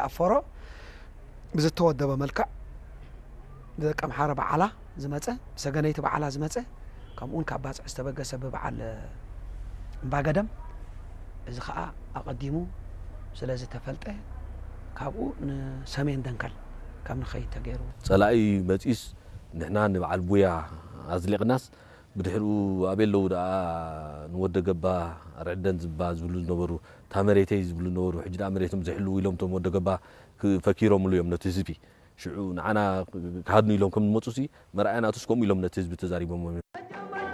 ኣፈሮ ብዝተወደበ መልክዕ ብደቂ ኣምሓረ በዓላ ዝመጸ፣ ብሰገነይቲ በዓላ ዝመጸ፣ ከምኡውን ካብ ባጽዕ ዝተበገሰ ብበዓል እምባገደም፣ እዚ ኸኣ ኣቐዲሙ ስለ ዝተፈልጠ ካብኡ ንሰሜን ደንከል ከም ንኸይድ ተገይሩ። ጸላኢ መጺኡስ ንሕና ንበዓል ቡያ ኣዝሊቕናስ ብድሕሪኡ ኣበይ ኣለዉ ደኣ ንወደ ገባ ኣርዕደን ዝባ ዝብሉ ዝነበሩ፣ እታ መሬተይ ዝብሉ ዝነበሩ፣ ሕጂ ደኣ መሬቶም ዘይሕልዉ ኢሎም እቶም ወደ ገባ ክ-፣ ፈኪሮምሉ እዮም ነቲ ህዝቢ። ሽዑ ንዓና ክሃድኑ ኢሎም ከም ዝመጹሲ መርኣያ ናቱስ ከምኡ ኢሎም ነቲ ህዝቢ ተዛሪቦም እዮም።